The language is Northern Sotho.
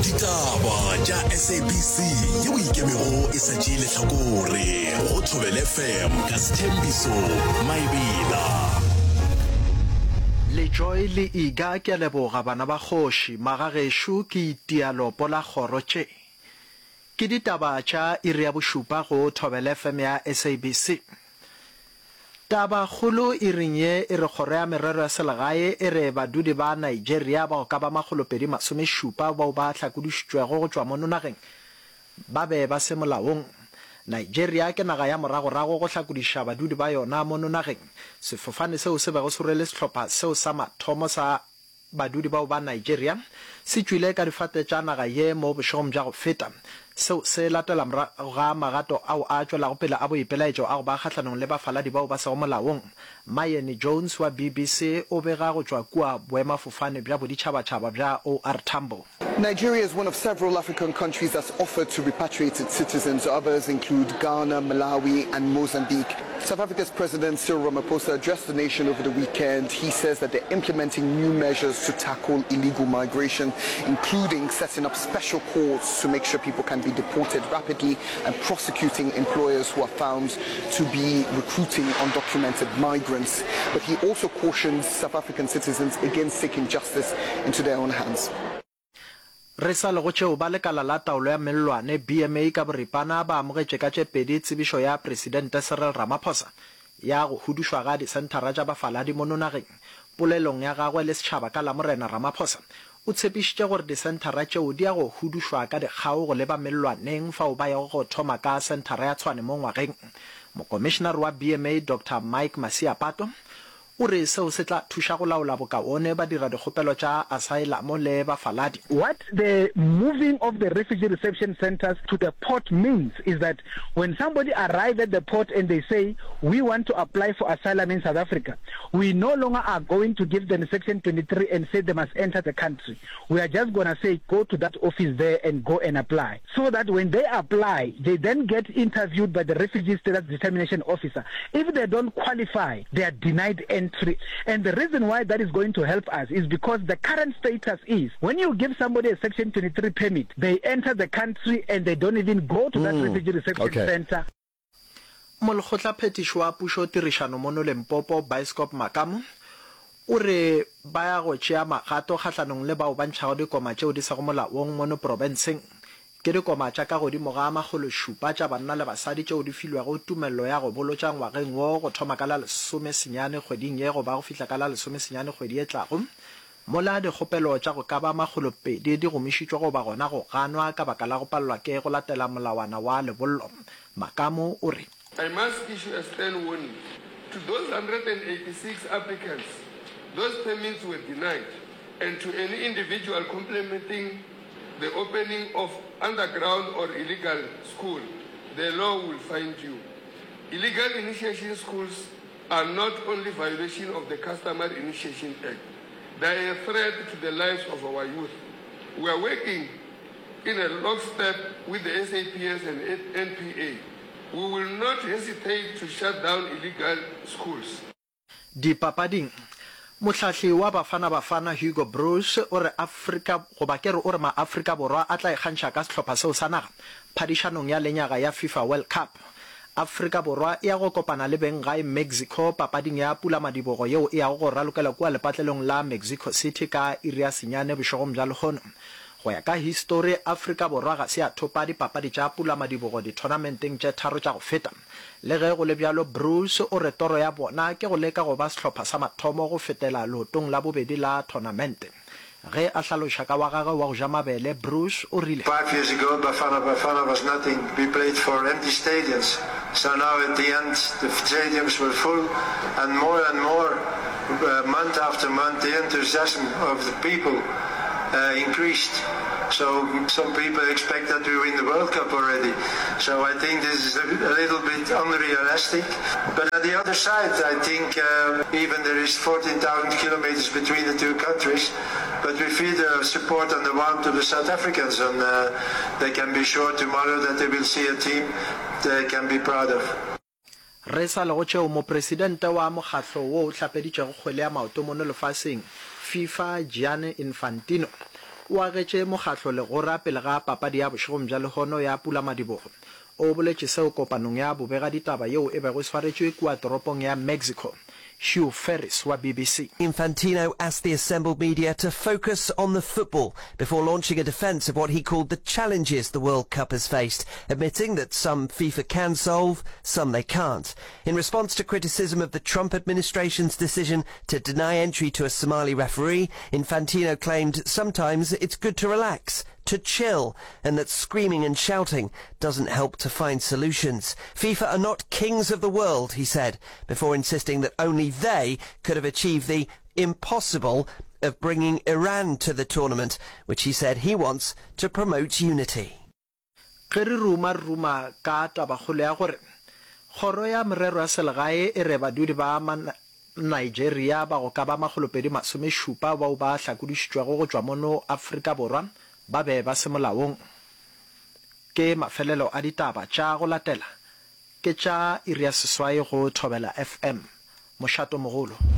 Ditaba tša SABC yeo e ikemego e sa tšee lehlakore go Thobela FM ka Sthembiso Maebela. Lejoy le Iga ke a leboga bana ba kgoši, magagešo ke itia lopo la kgoro tše. Ke ditaba tša iri ya bošupa go Thobela FM ya SABC. Tabakgolo iring ye e re Kgoro ya Merero ya Selegae e re badudi ba Nigeria bao ka ba makgolopedi masomešupa bao ba hlakodišitšwego go tšwa mono nageng ba be ba se molaong. Nigeria ke naga ya moragorago go hlakodiša badudi ba yona mono nageng. Sefofane seo se bego se rwele sehlopha seo sa mathomo sa Badudi bao ba Nigeria se tšwile ka difate tša naga ye mo bošegong bja go feta. Seo se latela morago ga magato ao a tšwelago pele a boipelaetšo a go ba kgahlanong le bafaladi bao ba sego molaong. Mayeni Jones wa BBC o bega go tšwa kua boemafofane bja boditšhabatšhaba bja OR Tambo. Nigeria is one of several African countries that's offered to repatriate its citizens. Others include Ghana, Malawi and Mozambique. South Africa's President Cyril Ramaphosa addressed the nation over the weekend. He says that they're implementing new measures to tackle illegal migration, including setting up special courts to make sure people can be deported rapidly and prosecuting employers who are found to be recruiting undocumented migrants. But he also cautions South African citizens against taking justice into their own hands. Re sa le go tšeo, ba lekala la taolo ya mellwane, BMA ka boripana, ba amogetše ka tše pedi tsebišo ya Presidente Cyril Ramaphosa ya go hudušwa ga disenthara tša bafaladi mono nageng. Polelong ya gagwe le setšhaba ka Lamorena, Ramaphosa o tshepišitše gore disenthara tšeo di ya go hudušwa ka dikgao go leba mellwaneng fao ba yago go thoma ka senthara ya Tshwane mo ngwageng. Mokomišenare wa BMA Doctor Mike Masiapato O re seo se tla thuša go laola bokaone badiradikgopelo tša asaelamo le bafaladi. What the moving of the refugee reception centres to the port means is that when somebody arrive at the port and they say we want to apply for asylum in South Africa, we no longer are going to give them section 23 and say they must enter the country. We are just gonna say go to that office there and go and apply. So that when they apply, they then get interviewed by the refugee status determination officer. If they don't qualify, they are denied entry. And the reason why that is going to help us is because the current status is when you give somebody a section 23 permit, they enter the country and they don't even go to that mm, refugee reception okay. center. Molekgotlaphethiši wa pušo tirišano mono Limpopo, Bioscop Makamu, o re ba ya go tšea magato kgahlanong le bao ba ntšhago dikoma tšeo di sego molaong mono profenseng. Ke dikoma tša ka godimo ga makgološupa tša banna le basadi tšeo di filwego tumello ya go bolotša ngwageng wo go thoma ka la lesomesenyane kgweding ye go ba go fihla ka la lesomesenyane kgwedi e tlago, mola dikgopelo tša go ka ba makgolopedi di gomišitšwe goba gona go ganwa ka baka la go palelwa ke go latela molawana wa lebollo. Makamu o re. I must issue a stern warning to those 186 applicants those permits were denied and to any individual complementing the opening of underground or illegal school, the law will find you. Illegal initiation schools are not only violation of the Customary Initiation Act, they are a threat to the lives of our youth. We are working in a lockstep with the SAPS and NPA. We will not hesitate to shut down illegal schools. Dipapading, mohlahli wa Bafana Bafana Hugo Broos o re Afrika goba ke re o re maAfrika Borwa a tla ikgantšha ka sehlopha seo sa naga phadišanong ya lenyaga ya FIFA World Cup. Afrika Borwa e ya go kopana le benggae Mexico papading ya pulamadibogo yeo e yago go ralokela kua lepatlelong la Mexico City ka iri ya senyane bošegong bja lehono. Go ya ka histori, Afrika Borwa ga se ya thopa dipapadi tša pulamadibogo dithonamenteng tše tharo tša go feta. Le ge go le bjalo, Broos o re toro ya bona ke go leka go ba sehlopha sa mathomo go fetela leotong la bobedi la thonamente. Ge a hlaloša ka wa gagwe wa go ja mabele, Broos o rile. Five years ago Bafana Bafana was nothing, we played for empty stadiums, so now at the end the stadiums were full and more and more month after month the enthusiasm of the people increased, so some people expect that we win the World Cup already, so I think this is a little bit unrealistic, but on the other side I think even there is 14,000 kilometers between the two countries, but we feel the support and the warmth of the South Africans and they can be sure tomorrow that they will see a team they can be proud of. Re sa le go tšeo, mopresidente wa mokgahlo wo o hlapeditšego kgwele ya maoto mono lefaseng, FIFA, Gianni Infantino, o agetše mokgatlo legora pele ga papadi ya bošegong bja lehono ya pulamadibogo. O boletše seo kopanong ya bobegaditaba yeo e bego e swaretšwe kua toropong ya Mexico. Hugh Ferris wa BBC. Infantino asked the assembled media to focus on the football before launching a defense of what he called the challenges the World Cup has faced, admitting that some FIFA can solve, some they can't. In response to criticism of the Trump administration's decision to deny entry to a Somali referee, Infantino claimed sometimes it's good to relax, to chill, and that screaming and shouting doesn't help to find solutions. FIFA are not kings of the world, he said, before insisting that only they could have achieved the impossible of bringing Iran to the tournament, which he said he wants to promote unity. Ge re ruma re ruma ka tabakgolo ya gore Kgoro ya Merero ya Selegae e re badudi ba Nigeria ba go ka ba makgolopedi-masomešupa bao ba hlakodišitšwego go tšwa mono Afrika Borwa ba be ba se molaong. Ke mafelelo a ditaba tša go latela ke tša iri ya seswai go Thobela FM. Mošato mogolo.